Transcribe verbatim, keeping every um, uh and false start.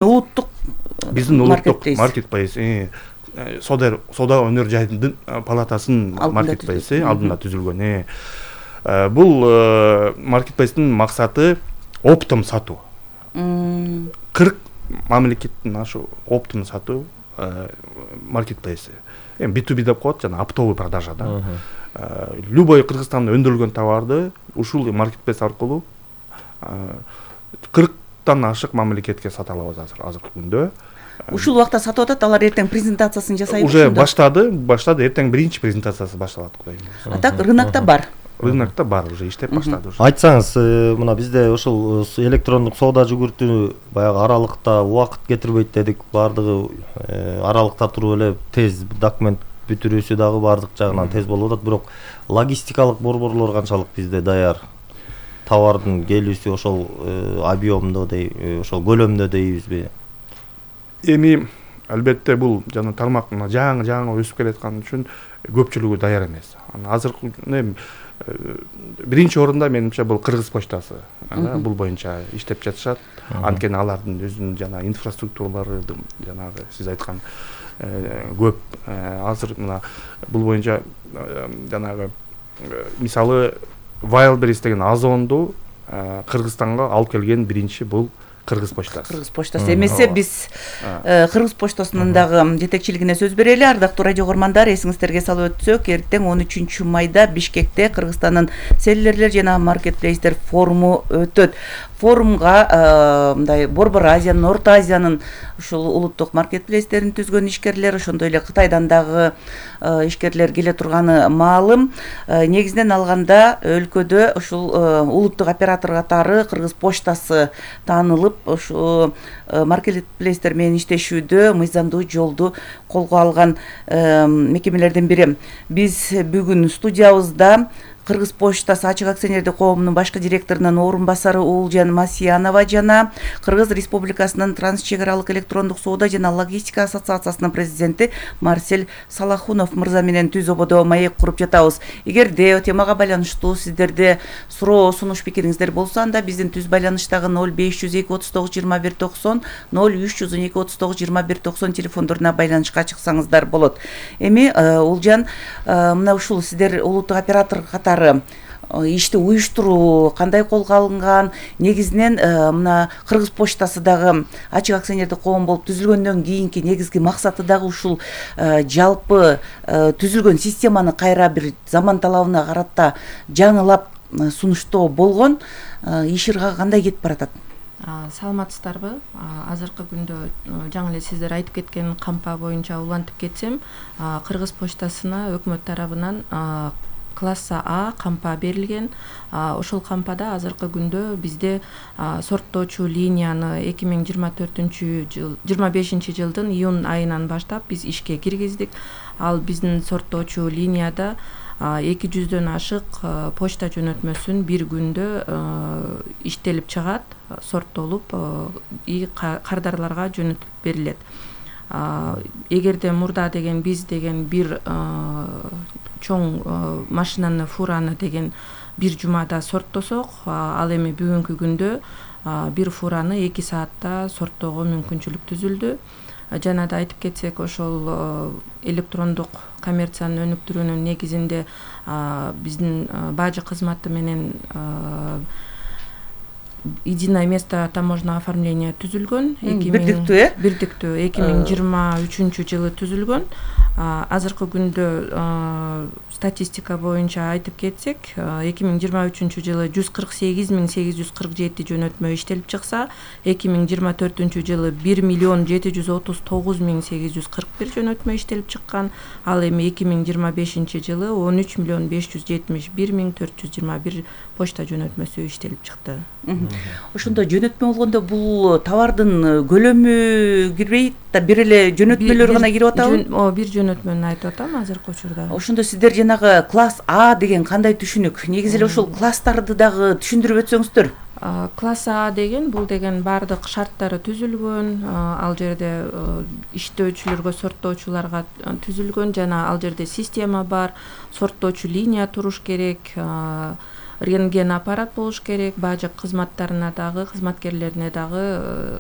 улуттук биздин улуттук маркетплейс сода сода өнөр жайдын палатасынын маркетплейси алдында түзүлгөн. Бул маркетплейстин максаты оптом сатуу. кырк мамлекеттин ашу оптом сатуу маркетплейси. Эми би ту би деп коет, жана оптовый продажа да. Любой Кыргызстанда өндүрүлгөн товарды ушул маркетплейс аркылуу кырктан ашык мамлекетке сата алабыз азыр азыркы күндө. Ушул убакта сатып атат, алар эртең презентациясын жасайбы? Уже баштады, баштады, эртең биринчи презентациясы башталат, Кудай муусун. А так рынокто бар. Рынокто бар, уже иштеп баштады уже. Айтсаңыз, мына бизде ушул электрондук соода жүгүртүү баягы аралыкта убакыт кетирбейт дедик, бардыгы аралыкта туруп эле тез документ бүтүрүүсү дагы бардык жагынан тез болуп атат, бирок логистикалык борборлор канчалык бизде даяр? Товардын келүүсү ошол объемдо дей, ошол көлөмдө дейбизби? Эми албетте бул жана тармак жаңы жаңы өсүп келаткан үчүн көпчүлүгү даяр эмес. Азыркы биринчи орунда менимче бул Кыргыз почтасы. Бул боюнча иштеп жатышат. Анткени алардын өзүнүн жана инфраструктуралары жанагы сиз айткан көп. Азыр мына бул боюнча жанагы мисалы Wildberries деген Озонду Кыргызстанга алып келген биринчи бул Кыргыз почтасы. Кыргыз почтасы эмесе биз Кыргыз почтасынын дагы жетекчилигине сөз берели. Ардактуу радио көгөрмандар, эсиңиздерге салып өтсөк, эртең он үчүнчү майда Бишкекте Кыргызстандын селлерлер жана маркетплейстер форуму өтөт. Форумга мындай Борбор Азиянын, Орто Азиянын ушул улуттук маркетплейстерин түзгөн ишкерлер, ошондой эле Кытайдан дагы ишкерлер келе турганы маалым. Негизинен алганда өлкөдө ушул улуттук оператор катары Кыргыз почтасы таанылып, ошо маркетплейстер менен иштешүүдө мыйзамдуу жолду колго алган мекемелердин бири. Биз бүгүн студиябызда Кыргыз почтасы ачык акционердик коомунун башкы директорунун орун басары Уулжан Масиянова жана Кыргыз Республикасынын транс чек аралык электрондук соода жана логистика ассоциациясынын президенти Марсель Салахунов мырза менен түз ободо маек куруп жатабыз. Эгерде темага байланыштуу сиздерде суроо, сунуш, пикириңиздер болсо, анда биздин түз байланыштагы ноль беш жүз эки отуз тогуз жыйырма бир токсон, ноль үч жүз он эки отуз тогуз жыйырма бир токсон телефондоруна байланышка чыксаңыздар болот. Эми Уулжан, мына ушул сиздер улуттук оператор катары ишти уюштуруу кандай колго алынган? Негизинен мына Кыргыз почтасы дагы ачык акционердик коом болуп түзүлгөндөн кийинки негизги максаты дагы ушул жалпы түзүлгөн системаны кайра бир заман талабына карата жаңылап сунуштоо болгон. Иш ыргагы кандай кетип баратат? Саламатсыздарбы? Азыркы күндө жаңы эле сиздер айтып кеткен кампа боюнча улантып кетсем, Кыргыз почтасына өкмөт тарабынан класса А кампа берилген. Ошол кампада азыркы күндө бизде сорттоочу линияны эки миң жыйырма төртүнчү жыл жыйырма бешинчи жылдын июнь айынан баштап биз ишке киргиздик. Ал биздин сорттоочу линияда эки жүздөн ашык почта жөнөтмөсүн бир күндө иштелип чыгат, сорттолуп и кардарларга жөнөтүлүп берилет. Эгерде мурда деген биз деген бир чоң машинаны, фураны деген бир жумада сорттосок, ал эми бүгүнкү күндө бир фураны эки саатта сорттоого мүмкүнчүлүк түзүлдү. Жана да айтып кетсек, ошол электрондук коммерциянын өнүктүрүүнүн негизинде биздин бажы кызматы менен единое место таможенного оформления түзүлгөн. Бирдиктүү, э? Бирдиктүү эки миң жыйырма үчүнчү жылы түзүлгөн. Азыркы күндө статистика боюнча айтып кетсек, эки миң жыйырма үчүнчү жылы жүз кырк сегиз миң сегиз жүз кырк жети жөнөтмө иштелип чыкса, эки миң жыйырма төртүнчү жылы бир миллион жети жүз отуз тогуз миң сегиз жүз кырк бир жөнөтмө иштелип чыккан. Ал эми эки миң жыйырма бешинчи жылы он үч миллион беш жүз жетимиш бир миң төрт жүз жыйырма бир почта жөнөтмөсү иштелип чыкты. Ошондо жөнөтмө болгондо бул товардын көлөмү кирбейт да, бир эле жөнөтмөлөр гана кирип атабы? О, бир жөнөтмөнү айтып атам азыркы учурда. Ошондо сиздер жанагы класс А деген кандай түшүнүк? Негизи эле ошол класстарды дагы түшүндүрүп өтсөңүздөр. Класс А деген бул деген бардык шарттары түзүлгөн, ал жерде иштөөчүлөргө, сорттоочуларга түзүлгөн, жана ал жерде система бар, сорттоочу линия туруш керек, рентген аппарат болуш керек, бажы кызматтарына дагы, кызматкерлерине дагы